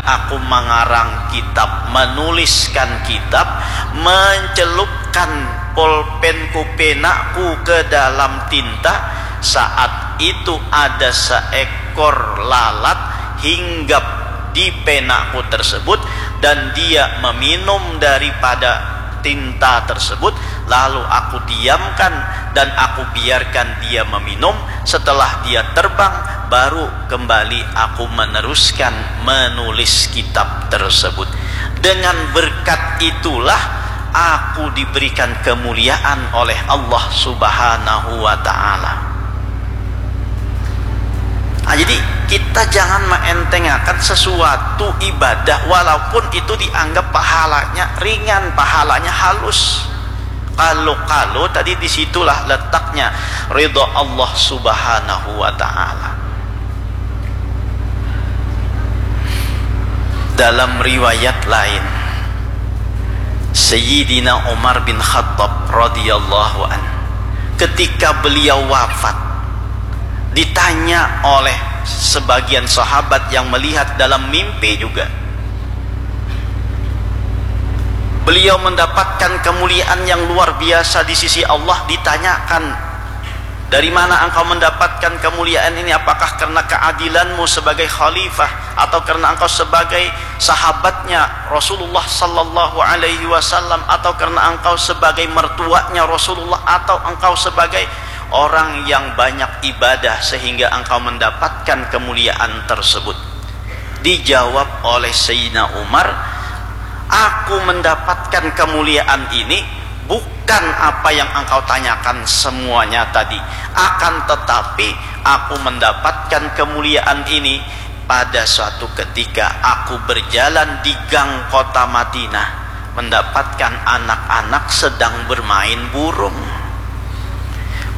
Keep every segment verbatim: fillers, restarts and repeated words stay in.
Aku mangarang kitab, manuliskan kitab, mancelupkan polpenku, penaku ke dalam tinta. Saat itu ada seekor lalat hinggap di penaku tersebut dan dia meminum daripada tinta tersebut, lalu aku diamkan dan aku biarkan dia meminum. Setelah dia terbang, baru kembali aku meneruskan menulis kitab tersebut. Dengan berkat itulah aku diberikan kemuliaan oleh Allah Subhanahu wa Ta'ala. Nah, jadi kita jangan meentengakan sesuatu ibadah, walaupun itu dianggap pahalanya ringan, pahalanya halus. Kalau-kalau tadi, disitulah letaknya ridho Allah Subhanahu wa Ta'ala. Dalam riwayat lain, Sayyidina Umar bin Khattab radhiyallahu anhu, ketika beliau wafat, ditanya oleh sebagian sahabat yang melihat dalam mimpi juga, beliau mendapatkan kemuliaan yang luar biasa di sisi Allah. Ditanyakan, "Dari mana engkau mendapatkan kemuliaan ini? Apakah karena keadilanmu sebagai khalifah, atau karena engkau sebagai sahabatnya Rasulullah sallallahu alaihi wasallam, atau karena engkau sebagai mertuanya Rasulullah, atau engkau sebagai orang yang banyak ibadah sehingga engkau mendapatkan kemuliaan tersebut?" Dijawab oleh Sayyidina Umar, "Aku mendapatkan kemuliaan ini bukan apa yang engkau tanyakan semuanya tadi, akan tetapi aku mendapatkan kemuliaan ini pada suatu ketika aku berjalan di gang kota Madinah, mendapatkan anak-anak sedang bermain burung.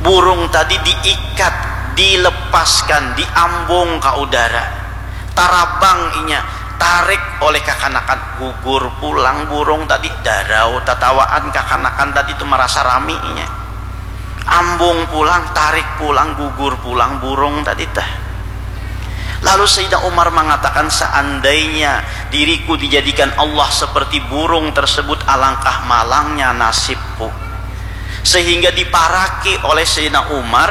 Burung tadi diikat, dilepaskan, diambung ka udara. Tarabang inya, tarik oleh kakanakan, gugur pulang burung tadi, darau tatawaan kakanakan tadi tu, marasa rami inya. Ambung pulang, tarik pulang, gugur pulang burung tadi tah." Lalu Sayyidina Umar mengatakan, "Seandainya diriku dijadikan Allah seperti burung tersebut, alangkah malangnya nasibku." Sehingga diparaki oleh Sayyidina Umar,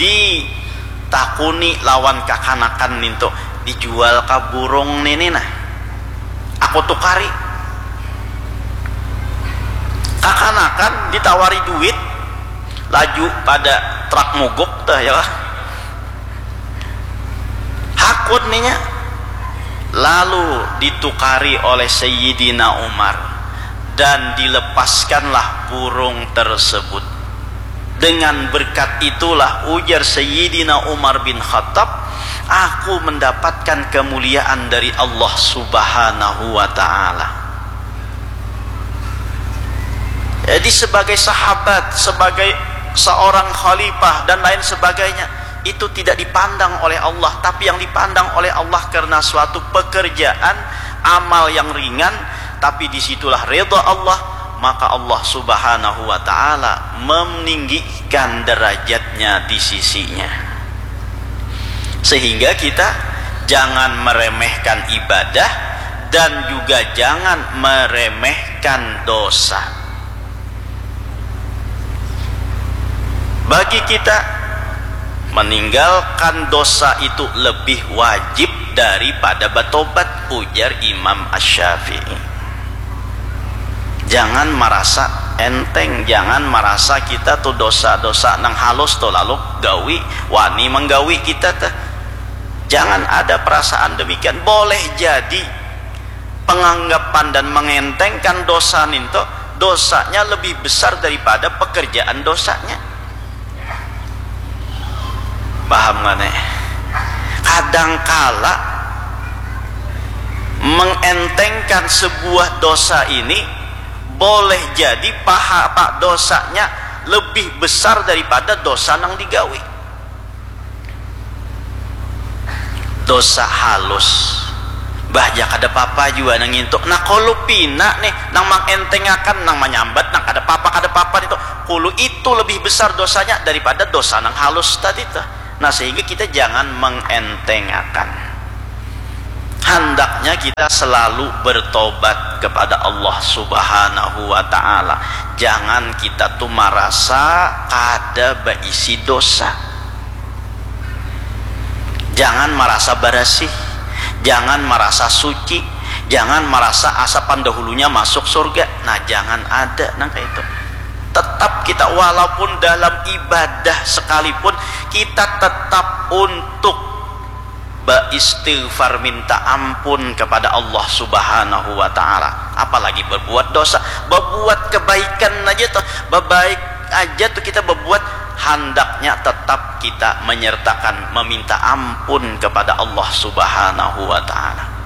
ditakuni lawan kakanakan nintu, "Dijual kah burung nini nah? Aku tukari." Kakanakan ditawari duit, laju pada trak muguk tah, ya lah. Hakun ninya. Lalu ditukari oleh Sayyidina Umar dan dilepaskanlah burung tersebut. Dengan berkat itulah, ujar Sayyidina Umar bin Khattab, "Aku mendapatkan kemuliaan dari Allah Subhanahu wa Ta'ala." Jadi, sebagai sahabat, sebagai seorang khalifah, dan lain sebagainya, itu tidak dipandang oleh Allah, tapi yang dipandang oleh Allah karena suatu pekerjaan amal yang ringan, tapi disitulah rida Allah, maka Allah Subhanahu wa Ta'ala meninggikan derajatnya di sisinya. Sehingga kita jangan meremehkan ibadah dan juga jangan meremehkan dosa. Bagi kita, meninggalkan dosa itu lebih wajib daripada batobat, ujar Imam Asy-Syafi'i. Jangan marasa enteng, jangan marasa kita tu dosa-dosa nang halus tu lalu gawi, wani manggawi kita teh. Jangan ada perasaan demikian. Boleh jadi penganggapan dan mengentengkan dosa nintu, dosanya lebih besar daripada pekerjaan dosanya. Paham nggak nih? Kadangkala mengentengkan sebuah dosa ini boleh jadi paha, apa, dosanya lebih besar daripada dosa nang digawi. Dosa halus, bah, ja kada papa jua nang ngintu. Nah, kalu pina nih, nang mangentengakan, nang manyambat, nang kada papa, kada papa nitu, kalu itu lebih besar dosanya daripada dosa nang halus tadi tuh. Nah, sehingga kita jangan mengentengakan. Hendaknya kita selalu bertobat kepada Allah Subhanahu wa Ta'ala. Jangan kita tuh merasa kada berisi dosa. Jangan merasa bersih, jangan merasa suci, jangan merasa asa pandahulunya masuk surga. Nah, jangan ada nang kayak itu. Tetap kita, walaupun dalam ibadah sekalipun, kita tetap untuk beristighfar, minta ampun kepada Allah Subhanahu wa Ta'ala. Apalagi berbuat dosa, berbuat kebaikan aja tuh, berbaik aja tuh kita berbuat, handaknya tetap kita menyertakan meminta ampun kepada Allah Subhanahu wa Ta'ala.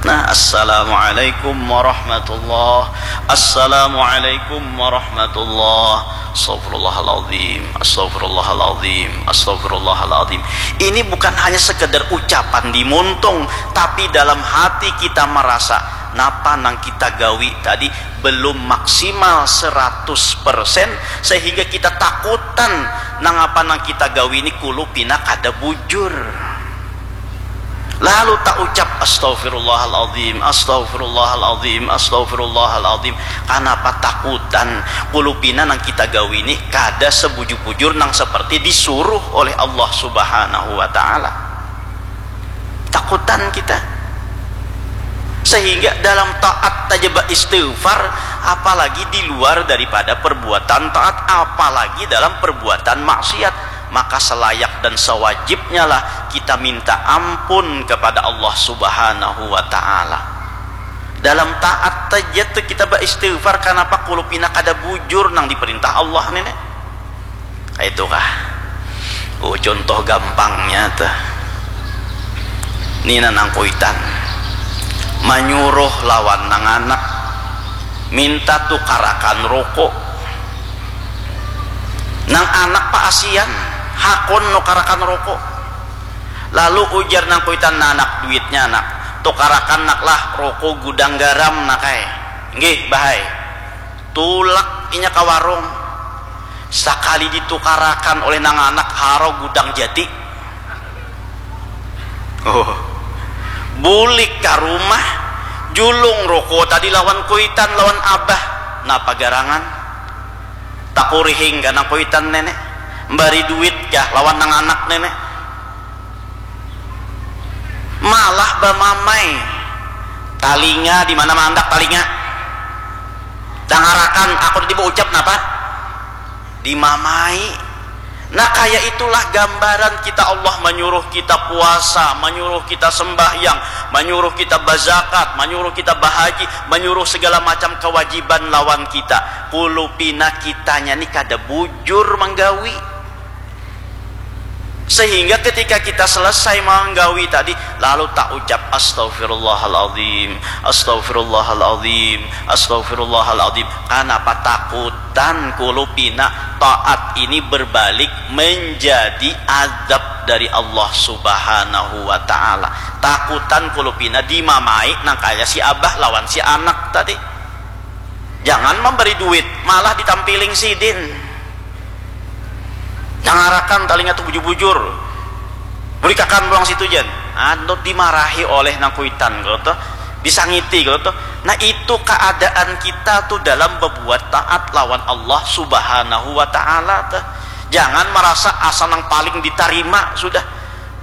Nah, assalamualaikum warahmatullah, assalamualaikum warahmatullah, astagfirullahaladzim, astagfirullahaladzim, astagfirullahaladzim. Ini bukan hanya sekedar ucapan di muntung, tapi dalam hati kita merasa napa nang kita gawi tadi belum maksimal seratus persen, sehingga kita takutan nang apa nang kita gawi ini kulu pina kada bujur. Lalu tak ucap, "Astagfirullahaladzim, astagfirullahaladzim, astagfirullahaladzim." Kanapa takutan? Kulupina nang kita gawi ni kada sebujur-bujur nang seperti disuruh oleh Allah Subhanahu wa Ta'ala. Takutan kita. Sehingga dalam taat saja beristighfar, apalagi di luar daripada perbuatan taat, apalagi dalam perbuatan maksiat. Maka selayak dan sewajibnyalah kita minta ampun kepada Allah Subhanahu wa Ta'ala. Dalam taat saja tuh kita beristighfar, kenapa kulupina kada bujur nang diperintah Allah ini? Itu kah? Oh, contoh gampangnya tuh. Nina nang kuitan manyuruh lawan nang anak minta tukarakan rokok. Nang anak paasian, hakun nukarakan rokok. Lalu ujar nang kuitan, "Nah, nak, duitnya, nak. Tukarakan, nak, lah, rokok gudang garam, nak ai." "Nggih, bah ai." Tulak inya ka warung. Sakali ditukarakan oleh nang anak, haro gudang jati. Oh. Bulik ka rumah, julung rokok tadi lawan kuitan, lawan abah. Napa garangan? Takurihing kah nang kuitan, nenek? Mbari duit kah lawan nang anak, nenek? Malah bamamai. Talinga, di mana mandak talinga? Dangarakan, aku tadi baucap napa? Dimamai. Nah, kaya itulah gambaran kita, Allah manyuruh kita puasa, manyuruh kita sembahyang, manyuruh kita bazakat, manyuruh kita bahaji, manyuruh segala macam kewajiban lawan kita. Kulupina kitanya ni kada bujur manggawi. Sehingga ketika kita selesai manggawi tadi, lalu tak ucap, "Astagfirullahaladzim, astagfirullahaladzim, astagfirullahaladzim." Kanapa takutan kulupina taat ini berbalik menjadi azab dari Allah Subhanahu wa Ta'ala. Takutan kulupina dimamai nang kaya si abah lawan si anak tadi. Jangan memberi duit, malah ditampiling sidin. Dangarakan talinga tu bujur-bujur. Burikakan pulang situ jan. Anu dimarahi oleh nang kuitan, kalau tuh disangiti, kalau tuh. Nah, itu keadaan kita tuh dalam berbuat taat lawan Allah Subhanahu wa Ta'ala tuh. Jangan merasa asa nang paling ditarima sudah.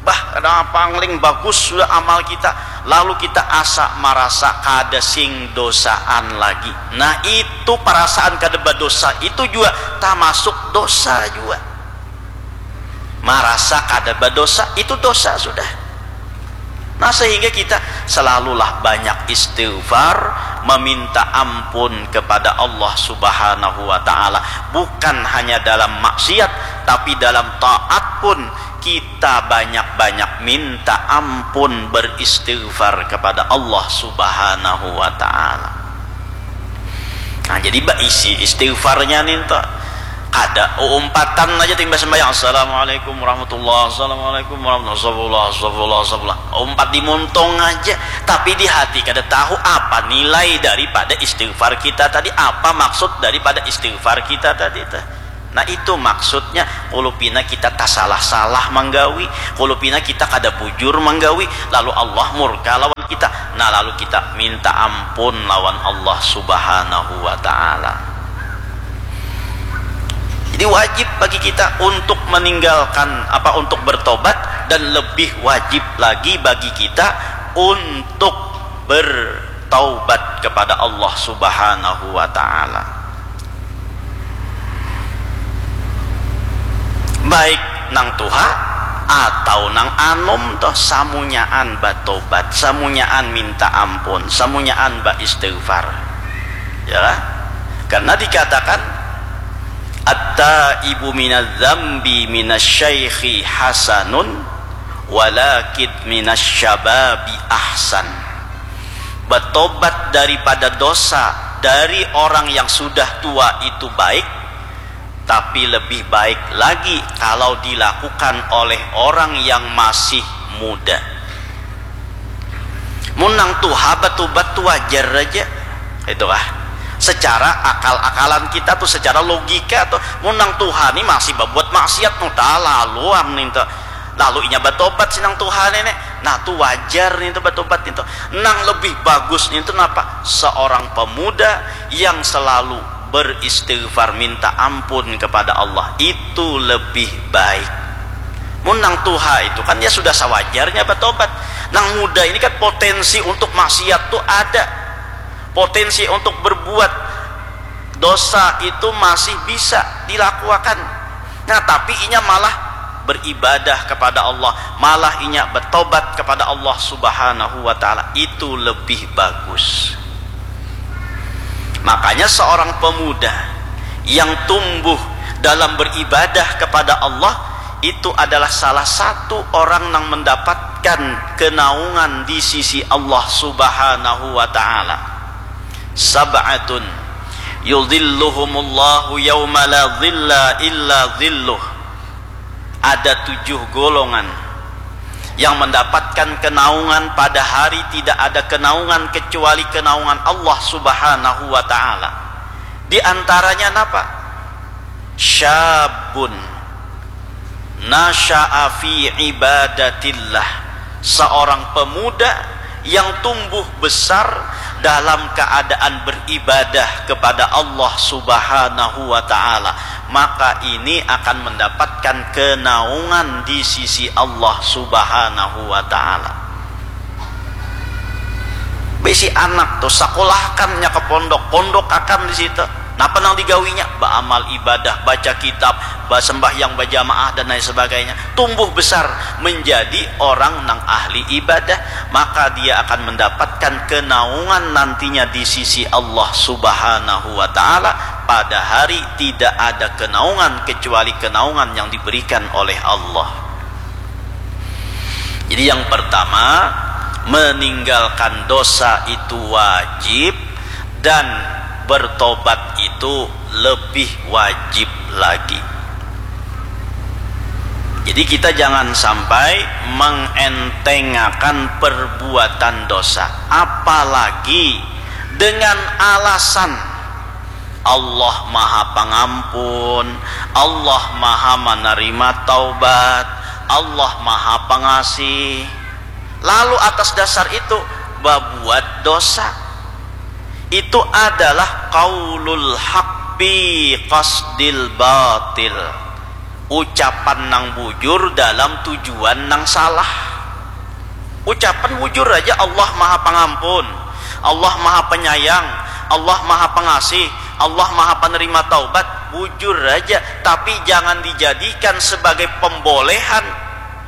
Bah, kada pangling bagus sudah amal kita, lalu kita asa marasa kada sing dosaan lagi. Nah, itu parasaan kada badosa itu jua tamasuk dosa jua. Marasa kada badosa itu dosa sudah. Nah, sehingga kita selalulah banyak istighfar, meminta ampun kepada Allah Subhanahu wa Ta'ala, bukan hanya dalam maksiat, tapi dalam taat pun kita banyak-banyak minta ampun, beristighfar kepada Allah Subhanahu wa Ta'ala. Nah, jadi baisi istighfarnya nih tuh. Kada umpatan aja timbas sembahyang, "Assalamualaikum warahmatullah, assalamualaikum warahmatullah, astagfirullah, astagfirullah, astagfirullah." Umpat di muntung aja, tapi di hati kada tahu apa nilai daripada istighfar kita tadi, apa maksud daripada istighfar kita tadi tuh. Nah, itu maksudnya, kulupina kita tasalah-salah manggawi, kulupina kita kada bujur manggawi, lalu Allah murka lawan kita. Nah, lalu kita minta ampun lawan Allah Subhanahu wa Ta'ala. Jadi, wajib bagi kita untuk meninggalkan, apa, untuk bertobat, dan lebih wajib lagi bagi kita untuk bertaubat kepada Allah Subhanahu wa Ta'ala. Baik nang tuha atau nang anum toh, samunyaan batobat, samunyaan minta ampun, samunyaan baistighfar. Ya, karena dikatakan, "At-taibu minadz-dzambi minasy-syaikhi hasanun, walakin minasy-syababi ahsan." Batobat daripada dosa dari orang yang sudah tua itu baik, tapi lebih baik lagi kalau dilakukan oleh orang yang masih muda. Mun nang tuha batobat tu wajar aja, itu kah? Secara akal-akalan kita tuh, secara logika tuh, mun nang tuha ni masih babuat maksiat, nu talaluan nintu. Lalu inya batobat si nang tuha ni, nah tu wajar nintu batobat nintu. Nang lebih bagus nintu napa? Seorang pemuda yang selalu beristighfar, minta ampun kepada Allah, itu lebih baik. Mun nang tuha itu kan ya sudah sawajarnya batobat. Nang muda ini kan potensi untuk maksiat tuh ada. Potensi untuk berbuat dosa itu masih bisa dilakukan. Nah, tapi inya malah beribadah kepada Allah, malah inya bertobat kepada Allah Subhanahu wa Ta'ala, itu lebih bagus. Makanya, seorang pemuda yang tumbuh dalam beribadah kepada Allah itu adalah salah satu orang yang mendapatkan kenaungan di sisi Allah Subhanahu wa Ta'ala. Sab'atun yudhilluhumullahu yawma la dhilla illa dhilluh. Ada tujuh golongan yang mendapatkan kenaungan pada hari tidak ada kenaungan kecuali kenaungan Allah Subhanahu wa Ta'ala. Di antaranya napa? Syabun nasya'a fi ibadatillah, seorang pemuda yang tumbuh besar dalam keadaan beribadah kepada Allah Subhanahu wa Ta'ala, maka ini akan mendapatkan kenaungan di sisi Allah Subhanahu wa Ta'ala. Bisi anak tuh, sakolahkannya ke pondok, pondok akan di situ. Napa nang digawinya? Baamal ibadah, baca kitab, basembahyang bajamaah, dan lain sebagainya. Tumbuh besar menjadi orang nang ahli ibadah, maka dia akan mendapatkan kenaungan nantinya di sisi Allah Subhanahu wa Ta'ala. Pada hari tidak ada kenaungan kecuali kenaungan yang diberikan oleh Allah. Jadi, yang pertama, meninggalkan dosa itu wajib, dan bertobat itu lebih wajib lagi. Jadi, kita jangan sampai mengentengakan perbuatan dosa, apalagi dengan alasan Allah Maha Pangampun, Allah Maha Manarima taubat, Allah Maha Pangasih. Lalu atas dasar itu babuat dosa. Itu adalah qaulul haq bi qasdil batil. Ucapan nang bujur dalam tujuan nang salah. Ucapan bujur aja, Allah Maha Pangampun, Allah Maha Penyayang, Allah Maha Pengasih, Allah Maha Penerima Taubat, bujur aja. Tapi jangan dijadikan sebagai pembolehan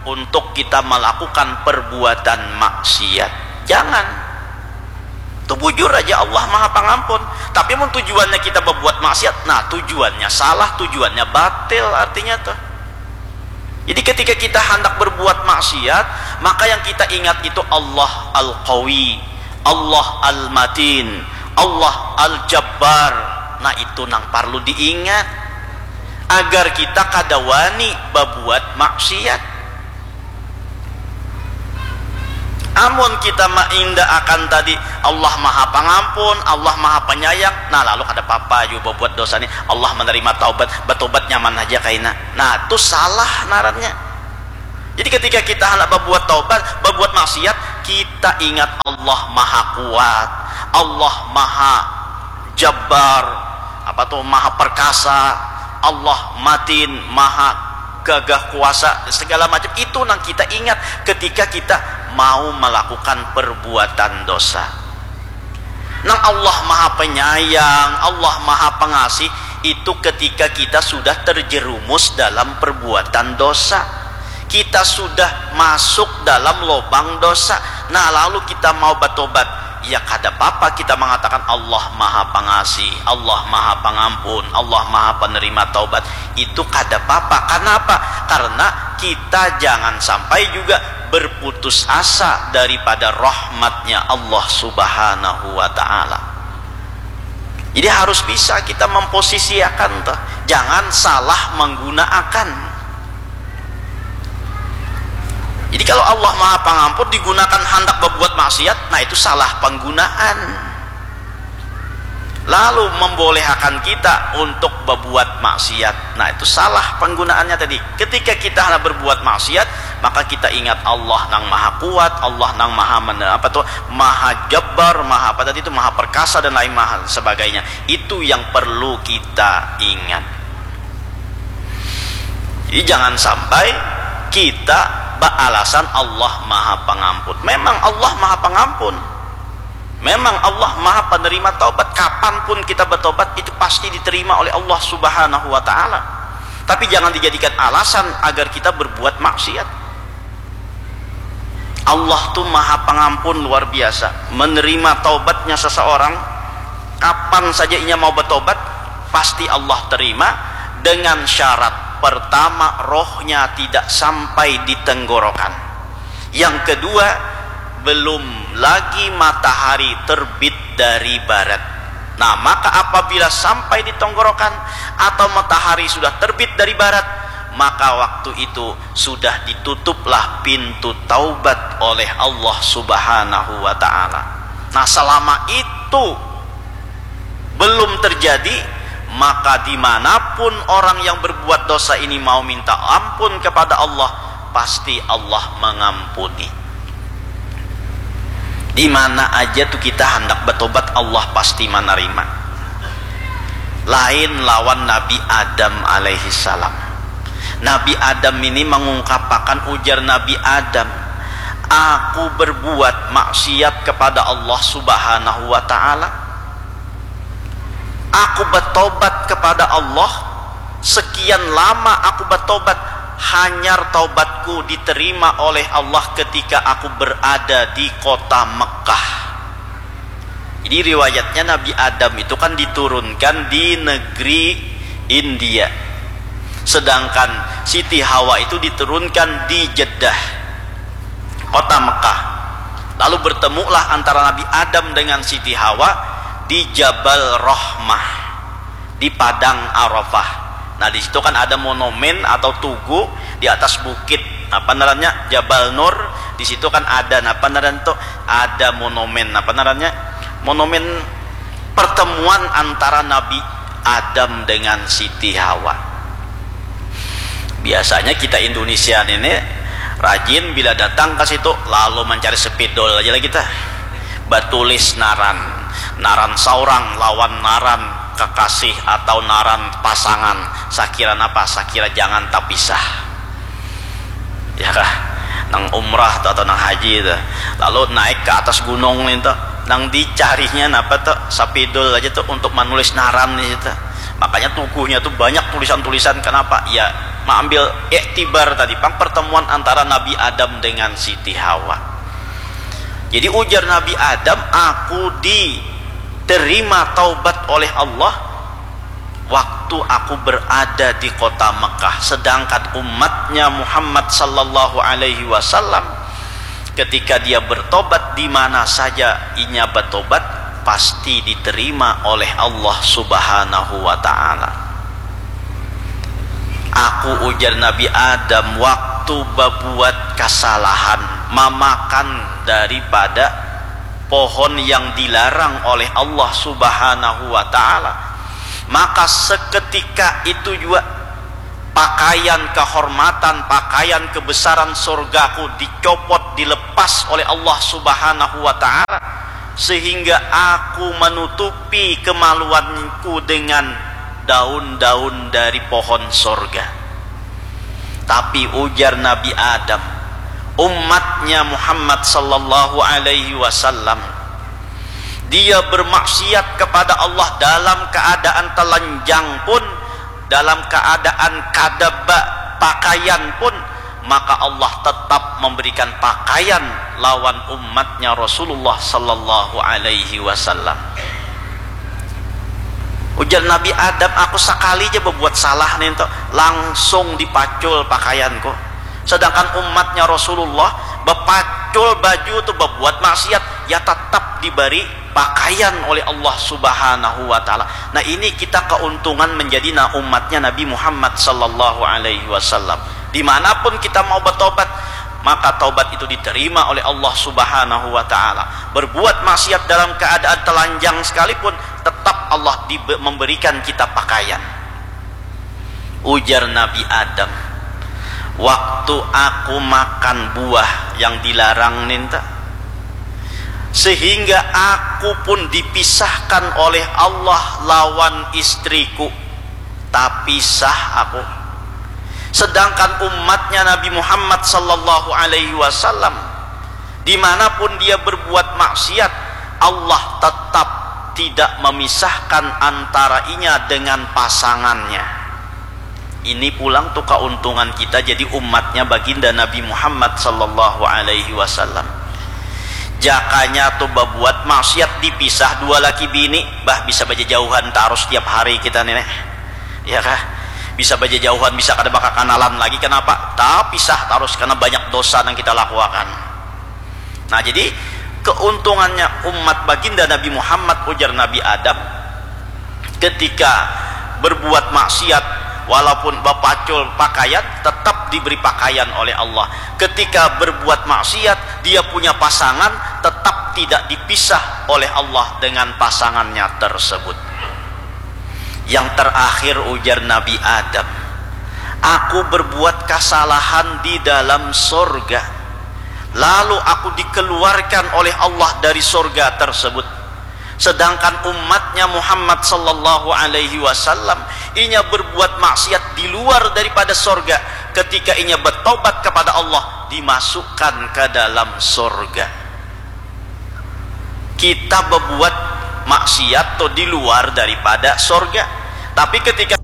untuk kita melakukan perbuatan maksiat. Jangan. Itu bujur aja, Allah Maha Pangampun. Tapi mun tujuannya kita berbuat maksiat, nah, tujuannya salah, tujuannya batil artinya tuh. Jadi, ketika kita hendak berbuat maksiat, maka yang kita ingat itu Allah Al-Qawi, Allah Al-Matin, Allah Al-Jabbar. Nah, itu nang perlu diingat agar kita kada wani babuat maksiat. Amun kita mainda akan tadi, Allah maha pangampun, Allah maha penyayang, nah lalu kada papa jua babuat dosa ni, Allah menerima taubat, batobat nyaman haja kaina. Nah tu salah narannya. Jadi ketika kita hendak babuat taubat, babuat maksiat, kita ingat Allah maha kuat, Allah maha jabbar, apa tu, maha perkasa, Allah matin, maha gagah kuasa, segala macam itu nang kita ingat ketika kita mau melakukan perbuatan dosa. Nang Allah maha penyayang, Allah maha pengasih, itu ketika kita sudah terjerumus dalam perbuatan dosa, kita sudah masuk dalam lobang dosa. Nah lalu kita mau batobat, ya kada papa kita mengatakan Allah maha pengasih, Allah maha pengampun, Allah maha penerima taubat. Itu kada papa. Kenapa? Karena kita jangan sampai juga berputus asa daripada rahmatnya Allah Subhanahu wa Ta'ala. Jadi harus bisa kita memposisiakan tuh, jangan salah menggunakan. Jadi kalau Allah maha pangampun digunakan handak berbuat maksiat, nah itu salah penggunaan. Lalu membolehkan kita untuk berbuat maksiat, nah itu salah penggunaannya tadi. Ketika kita hendak berbuat maksiat, maka kita ingat Allah nang maha kuat, Allah nang maha mana apa tuh, maha jabbar, maha apa tadi itu, maha perkasa dan lain maha sebagainya. Itu yang perlu kita ingat. Jadi jangan sampai kita beralasan Allah maha pengampun. Memang Allah maha pengampun. Memang Allah maha penerima taubat. Kapanpun kita bertobat itu pasti diterima oleh Allah Subhanahu wa Ta'ala. Tapi jangan dijadikan alasan agar kita berbuat maksiat. Allah tu maha pengampun luar biasa. Menerima taubatnya seseorang, kapan saja inya mau bertobat, pasti Allah terima dengan syarat pertama rohnya tidak sampai di tenggorokan. Yang kedua, belum lagi matahari terbit dari barat. Nah, maka apabila sampai di tenggorokan atau matahari sudah terbit dari barat, maka waktu itu sudah ditutuplah pintu taubat oleh Allah Subhanahu wa Ta'ala. Nah, selama itu belum terjadi, maka dimanapun orang yang berbuat dosa ini mau minta ampun kepada Allah, pasti Allah mengampuni. Di mana aja tuh kita hendak bertobat, Allah pasti menerima. Lain lawan Nabi Adam alaihi salam. Nabi Adam ini mengungkapkan, ujar Nabi Adam, "Aku berbuat maksiat kepada Allah Subhanahu wa Ta'ala. Aku bertobat kepada Allah. Sekian lama aku bertobat. Hanyar taubatku diterima oleh Allah ketika aku berada di kota Mekah." Jadi riwayatnya Nabi Adam itu kan diturunkan di negeri India. Sedangkan Siti Hawa itu diturunkan di Jeddah, kota Mekah. Lalu bertemulah antara Nabi Adam dengan Siti Hawa di Jabal Rahmah, di padang Arafah. Nah, di situ kan ada monumen atau tugu di atas bukit, apa ngarannya, Jabal Nur. Di situ kan ada, apa ngaran tuh, ada monumen, apa ngarannya, monumen pertemuan antara Nabi Adam dengan Siti Hawa. Biasanya kita Indonesia ini rajin bila datang ke situ lalu mencari spidol aja lah kita. Batulis naran, naran saurang lawan naran kekasih atau naran pasangan. Sakira napa? Sakira jangan tapisah. Ya kah? Nang umrah tuh atau nang haji tuh. Lalu naik ke atas gunung nih tuh. Nang dicarinya napa tuh? Sapidul aja tuh untuk menulis naran nih tuh. Makanya tuguhnya tuh banyak tulisan-tulisan. Kenapa? Ya, mengambil iktibar tadi, pang, pertemuan antara Nabi Adam dengan Siti Hawa. Jadi ujar Nabi Adam, "Aku diterima taubat oleh Allah waktu aku berada di kota Mekah, sedangkan umatnya Muhammad sallallahu alaihi wasallam, ketika dia bertobat, di mana saja inya bertobat, pasti diterima oleh Allah Subhanahu wa Ta'ala." Aku, ujar Nabi Adam, waktu babuat kasalahan, mamakan daripada pohon yang dilarang oleh Allah Subhanahu wa Ta'ala, maka seketika itu juga pakaian kehormatan, pakaian kebesaran surgaku dicopot, dilepas oleh Allah Subhanahu wa Ta'ala, sehingga aku menutupi kemaluanku dengan daun-daun dari pohon surga. Tapi ujar Nabi Adam, umatnya Muhammad sallallahu alaihi wasallam, dia bermaksiat kepada Allah dalam keadaan telanjang pun, dalam keadaan kada ba pakaian pun, maka Allah tetap memberikan pakaian lawan umatnya Rasulullah sallallahu alaihi wasallam. Ujar Nabi Adam, aku sakali ja babuat salah nintu, langsung dipacul pakaianku. Sedangkan umatnya Rasulullah, bapacul baju tu, babuat maksiat, ya tatap dibari pakaian oleh Allah Subhanahu wa Ta'ala. Nah, ini kita keuntungan menjadi na umatnya Nabi Muhammad sallallahu alaihi wasallam. Dimanapun kita mau bertobat, maka taubat itu diterima oleh Allah Subhanahu wa Ta'ala. Berbuat maksiat dalam keadaan telanjang sekalipun, tetap Allah dibe- memberikan kita pakaian. Ujar Nabi Adam, waktu aku makan buah yang dilarang ninta, sehingga aku pun dipisahkan oleh Allah lawan istriku, tapisah aku. Sedangkan umatnya Nabi Muhammad sallallahu alaihi wasallam, dimanapun dia berbuat maksiat, Allah tetap tidak memisahkan antara inya dengan pasangannya. Ini pulang tu keuntungan kita jadi umatnya baginda Nabi Muhammad sallallahu alaihi wasallam. Jakanya tu babuat maksiat dipisah dua laki bini, bah, bisa bajajauhan tarus tiap hari kita ni, neh. Ya kah? Bisa bajajauhan, bisa kada bakakanalan lagi. Kenapa? Tapisah tarus karena banyak dosa yang kita lakukan. Nah, jadi keuntungannya umat baginda Nabi Muhammad, ujar Nabi Adam, ketika berbuat maksiat, walaupun bapacul pakaian, tetap diberi pakaian oleh Allah. Ketika berbuat maksiat, dia punya pasangan, tetap tidak dipisah oleh Allah dengan pasangannya tersebut. Yang terakhir, ujar Nabi Adam, aku berbuat kesalahan di dalam sorga, lalu aku dikeluarkan oleh Allah dari sorga tersebut. Sedangkan umatnya Muhammad sallallahu alaihi wasallam, inya berbuat maksiat di luar daripada sorga. Ketika inya bertobat kepada Allah, dimasukkan ke dalam sorga. Kita berbuat maksiat tu di luar daripada sorga. Tapi ketika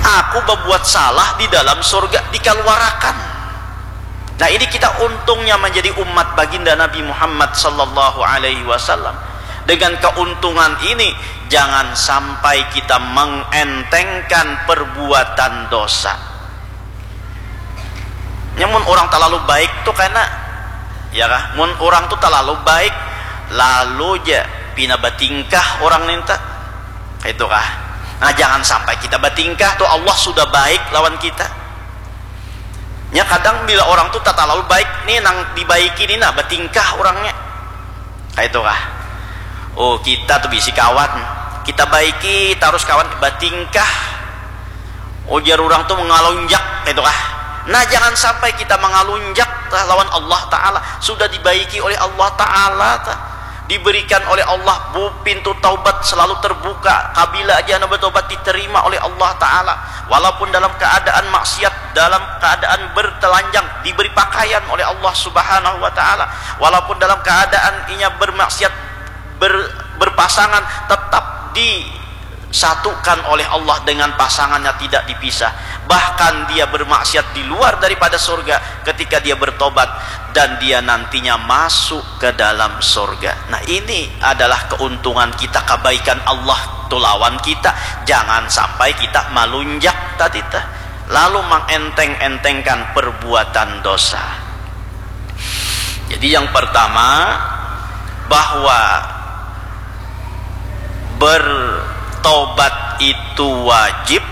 aku berbuat salah di dalam sorga, dikeluarkan. Nah, ini kita untungnya menjadi umat baginda Nabi Muhammad sallallahu alaihi wasallam. Dengan keuntungan ini, jangan sampai kita mengentengkan perbuatan dosa. Nyamun orang terlalu baik tu kena, ya kah? Mun orang tu terlalu baik, lalu ja pina batingkah orang ninta, itu kah? Nah, jangan sampai kita batingkah tu, Allah sudah baik lawan kita. Nya kadang bila orang tu terlalu baik, ni nang dibaiki ni nah, batingkah orangnya. Kaitu kah? Oh, kita tu bisi kawan, kita baiki tarus kawan, batingkah ujar urang tu mangalunjak, kaitu kah? Nah, jangan sampai kita mangalunjak tah lawan Allah Ta'ala. Sudah dibaiki oleh Allah Ta'ala tah, diberikan oleh Allah bu pintu taubat selalu terbuka. Kabila aja anda bertobat, diterima oleh Allah Ta'ala. Walaupun dalam keadaan maksiat, dalam keadaan bertelanjang, diberi pakaian oleh Allah Subhanahu wa Ta'ala. Walaupun dalam keadaan inya bermaksiat, ber, berpasangan, tetap disatukan oleh Allah dengan pasangannya, tidak dipisah. Bahkan dia bermaksiat di luar daripada surga, ketika dia bertobat dan dia nantinya masuk ke dalam surga. Nah, ini adalah keuntungan kita, kebaikan Allah tu lawan kita. Jangan sampai kita malunjak tadi teh, lalu mengenteng-entengkan perbuatan dosa. Jadi, yang pertama, bahwa ber Tobat itu wajib,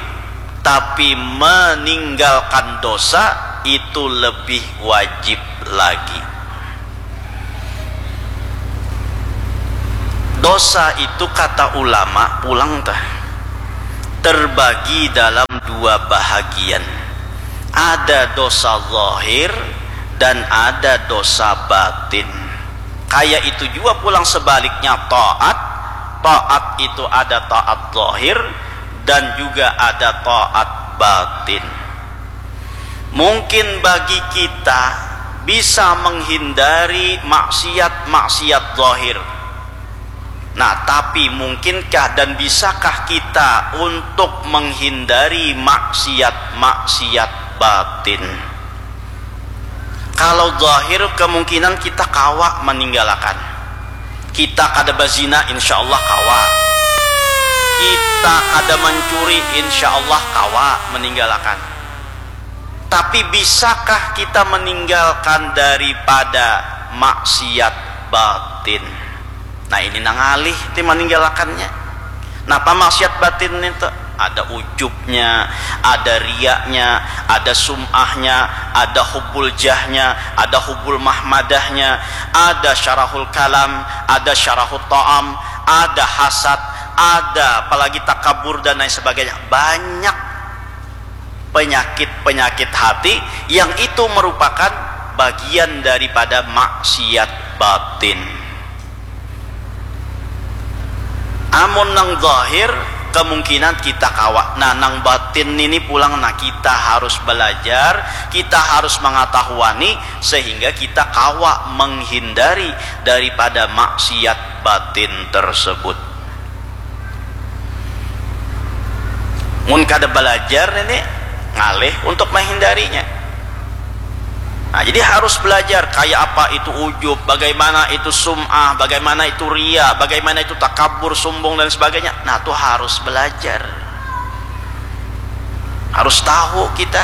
tapi meninggalkan dosa itu lebih wajib lagi. Dosa itu, kata ulama pulang tah, terbagi dalam dua bahagian. Ada dosa zahir dan ada dosa batin. Kaya itu jua pulang sebaliknya taat. Taat itu ada taat zahir dan juga ada taat batin. Mungkin bagi kita bisa menghindari maksiat-maksiat zahir. Nah, tapi mungkinkah dan bisakah kita untuk menghindari maksiat-maksiat batin? Kalau zahir, kemungkinan kita kawa meninggalkan. Kita kada bazina, insya Allah kawa. Kita kada mencuri, insya Allah kawa meninggalkan. Tapi bisakah kita meninggalkan daripada maksiat batin? Nah, ini nang ngalih ti maninggalakannya. Napa maksiat batin itu? Ada ujubnya, ada riaknya, ada sum'ahnya, ada hubbul jahnya, ada hubbul mahmadahnya, ada syarahul kalam, ada syarahul ta'am, ada hasad, ada apalagi takabur dan lain sebagainya. Banyak penyakit-penyakit hati yang itu merupakan bagian daripada maksiat batin. Amun nang zahir, kemungkinan kita kawa. Nah, nang batin ini pulang, nah, kita harus belajar, kita harus mengetahuani sehingga kita kawa menghindari daripada maksiat batin tersebut. Mun kada belajar ini, ngalih untuk menghindarinya. Nah, jadi harus belajar kayak apa itu ujub, bagaimana itu sum'ah, bagaimana itu ria, bagaimana itu takabur, sombong dan sebagainya. Nah, itu harus belajar. Harus tahu kita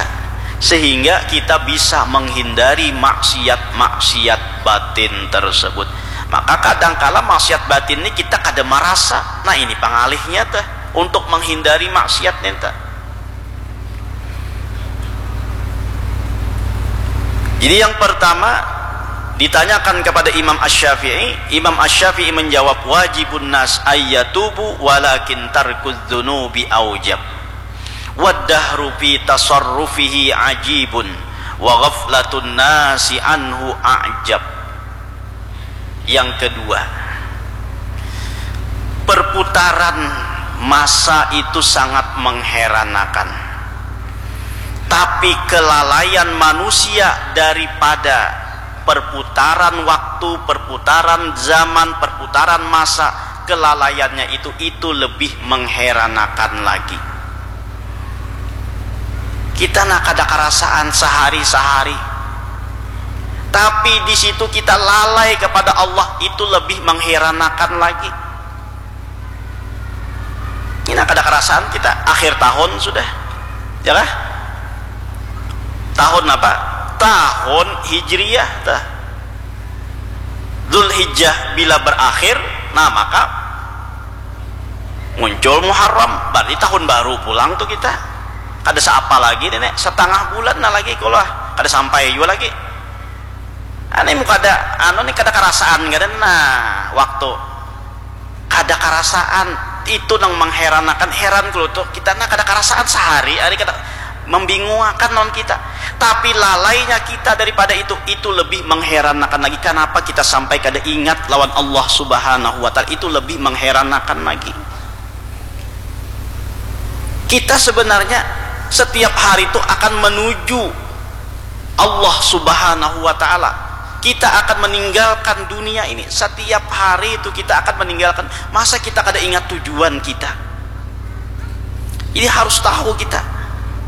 sehingga kita bisa menghindari maksiat-maksiat batin tersebut. Maka kadangkala maksiat batin ini kita kada merasa. Nah, ini pengalihnya teh untuk menghindari maksiat nenta. Jadi yang pertama ditanyakan kepada Imam Asy-Syafi'i, Imam Asy-Syafi'i menjawab, "Wajibun nas ayyatubu walakin tarkudz dzunubi aujab. Waddahru fi tasarrufihi ajibun wa ghaflatun nasi anhu ajab." Yang kedua, perputaran masa itu sangat mengheranakan. Tapi kelalaian manusia daripada perputaran waktu, perputaran zaman, perputaran masa, kelalaiannya itu, itu lebih mengheranakan lagi. Kita nah kada karasaan sehari-sehari. Tapi di situ kita lalai kepada Allah, itu lebih mengheranakan lagi. Ini kada karasaan kita akhir tahun sudah. Ya kah? Tahun apa? Tahun Hijriah tah. Zulhijjah bila berakhir, nah maka muncul Muharram, berarti tahun baru pulang tuh kita. Kada seapa lagi nenek, setengah bulan nah lagi kalau kada sampai juga lagi. Ane mu kada anu nih kada karasaan kada nah waktu kada karasaan itu nang mengheranakan heran kalau tuh kita nah kada karasaan sehari hari kada membingungakan non kita. Tapi lalainya kita daripada itu, itu lebih mengheranakan lagi. Kenapa kita sampai kada ingat lawan Allah Subhanahu wa Ta'ala? Itu lebih mengheranakan lagi. Kita sebenarnya setiap hari itu akan menuju Allah Subhanahu wa Ta'ala. Kita akan meninggalkan dunia ini. Setiap hari itu kita akan meninggalkan. Masa kita kada ingat tujuan kita? Ini harus tahu kita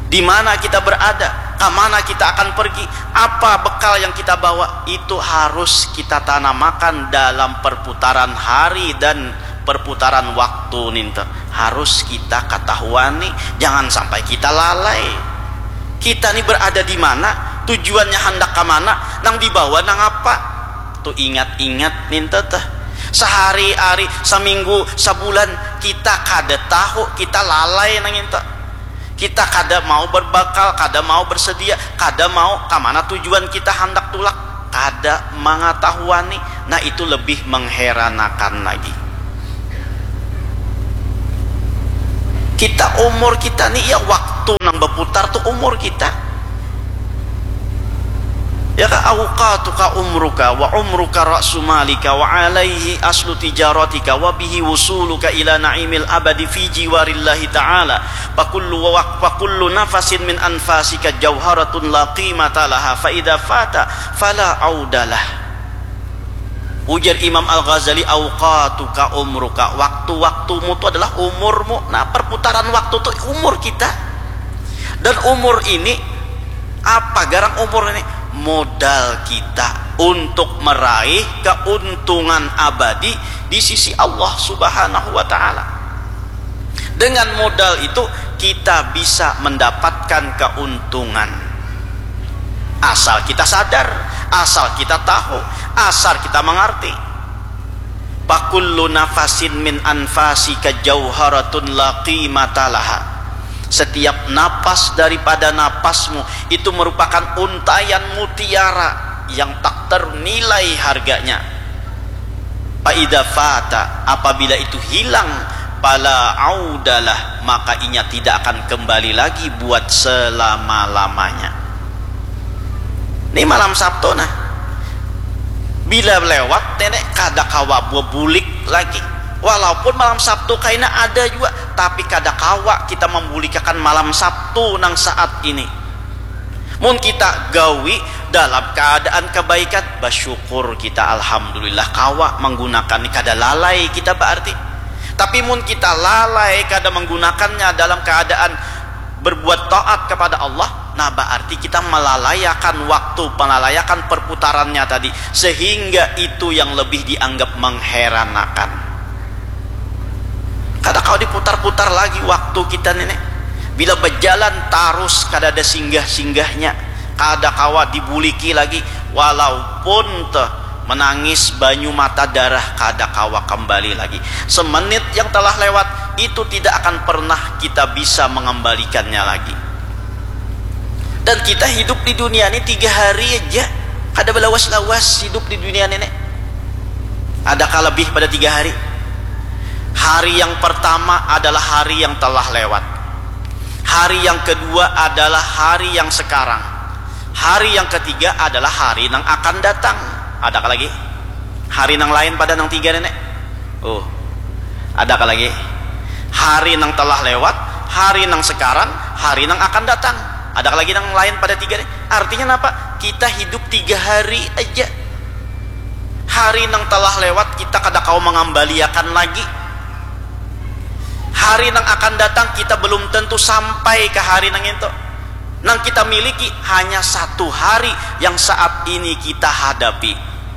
di mana kita berada, ke mana kita akan pergi, apa bekal yang kita bawa, itu harus kita tanamakan dalam perputaran hari dan perputaran waktu ninta. Harus kita ketahuan nih, jangan sampai kita lalai. Kita nih berada di mana, tujuannya hendak ke mana, nang dibawa nang apa. Tuh ingat-ingat ninta teh. Sahari-ari, saminggu, sabulan, kita kada tahu, kita lalai nang itu. Kita kada mau berbakal, kada mau bersedia, kada mau kamana tujuan kita handak tulak, kada mangatahuani. Nah, itu lebih mengheranakan lagi. Kita, umur kita ni, ya, waktu nang berputar tu umur kita. Ya ka, awqatuka umruka wa umruka ra'su malika wa alaihi aslu tijaratika wa bihi wusuluka ila na'imil abadi fi jiwarillahi ta'ala. Fakullu wa-, fakullu nafasin min anfasika jauharatun la qimata laha fa idza fata fala audalah. Ujar Imam Al-Ghazali, awqatuka umruka, waktu-waktumu tu adalah umurmu. Nah, perputaran waktu tu umur kita. Dan umur ini, apa garang umur ini? Modal kita untuk meraih keuntungan abadi di sisi Allah Subhanahu wa Ta'ala. Dengan modal itu, kita bisa mendapatkan keuntungan. Asal kita sadar, asal kita tahu, asal kita mengerti. Fakullu nafasin min anfasika jauharatun la qimata laha. Setiap napas daripada napasmu itu merupakan untaian mutiara yang tak ternilai harganya. Fa idza fata, apabila itu hilang, fala audalah, maka inya tidak akan kembali lagi buat selama-lamanya. Ini malam Sabtu, nah. Bila lewat, nenek kada kawa bulik lagi. Walaupun malam Sabtu kaina ada juga, tapi kada kawa kita membulikakan malam Sabtu nang saat ini. Mun kita gawi dalam keadaan kebaikan, bersyukur kita, alhamdulillah, kawa menggunakan ni, kada lalai kita berarti. Tapi mun kita lalai, kada menggunakannya dalam keadaan berbuat taat kepada Allah, nah, berarti kita melalaiakan waktu, melalayakan perputarannya tadi, sehingga itu yang lebih dianggap mengheranakan. Kada kawa diputar-putar lagi waktu kita ni, nek. Bila berjalan tarus, kada ada singgah-singgahnya, kada kawa dibuliki lagi, walaupun teh menangis banyu mata darah, kada kawa kembali lagi. Semenit yang telah lewat itu tidak akan pernah kita bisa mengembalikannya lagi. Dan kita hidup di dunia ini tiga hari aja, kada belawas-lawas hidup di dunia ini, nek. Adakah lebih pada tiga hari? Hari yang pertama adalah hari yang telah lewat. Hari yang kedua adalah hari yang sekarang. Hari yang ketiga adalah hari nang akan datang. Adakah lagi? Hari nang lain pada nang tiga, nenek? Oh, adakah lagi? Hari nang telah lewat, hari nang sekarang, hari nang akan datang. Adakah lagi nang lain pada tiga ni? Artinya napa? Kita hidup tiga hari aja. Hari nang telah lewat kita kada kawa mengambaliakan lagi. Hari nang akan datang kita belum tentu sampai ke hari nang itu. Nang kita miliki hanya satu hari yang saat ini kita hadapi.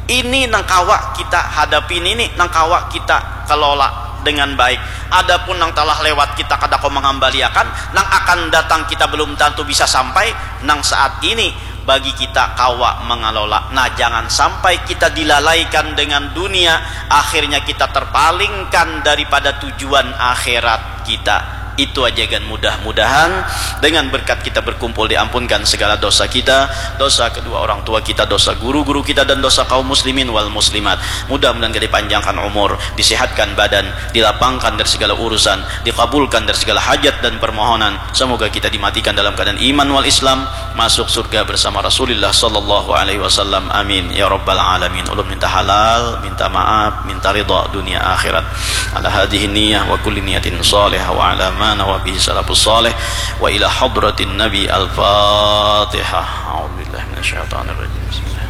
Ini nang kawa kita hadapi, ini nang kawa kita kelola dengan baik. Adapun nang telah lewat kita kada kawa mengambaliakan, nang akan datang kita belum tentu bisa sampai, nang saat ini bagi kita kawa mengelola. Nah, jangan sampai kita dilalaikan dengan dunia, akhirnya kita terpalingkan daripada tujuan akhirat kita. Itu aja kan, mudah-mudahan dengan berkat kita berkumpul diampunkan segala dosa kita, dosa kedua orang tua kita, dosa guru-guru kita, dan dosa kaum muslimin wal muslimat. Mudah-mudahan kita dipanjangkan umur, disehatkan badan, dilapangkan dari segala urusan, dikabulkan dari segala hajat dan permohonan. Semoga kita dimatikan dalam keadaan iman wal Islam, masuk surga bersama Rasulillah sallallahu alaihi wasallam. Amin ya rabbal alamin. Ulun minta halal, minta maaf, minta ridha dunia akhirat. Ala hadhihi niyah wa kulli niyatin salihah wa ala ma nawa bihi salafus salih wa ila hadratin nabi. Al-Fatihah. A'udzubillahi minasyaitonir rajim. Bismillah.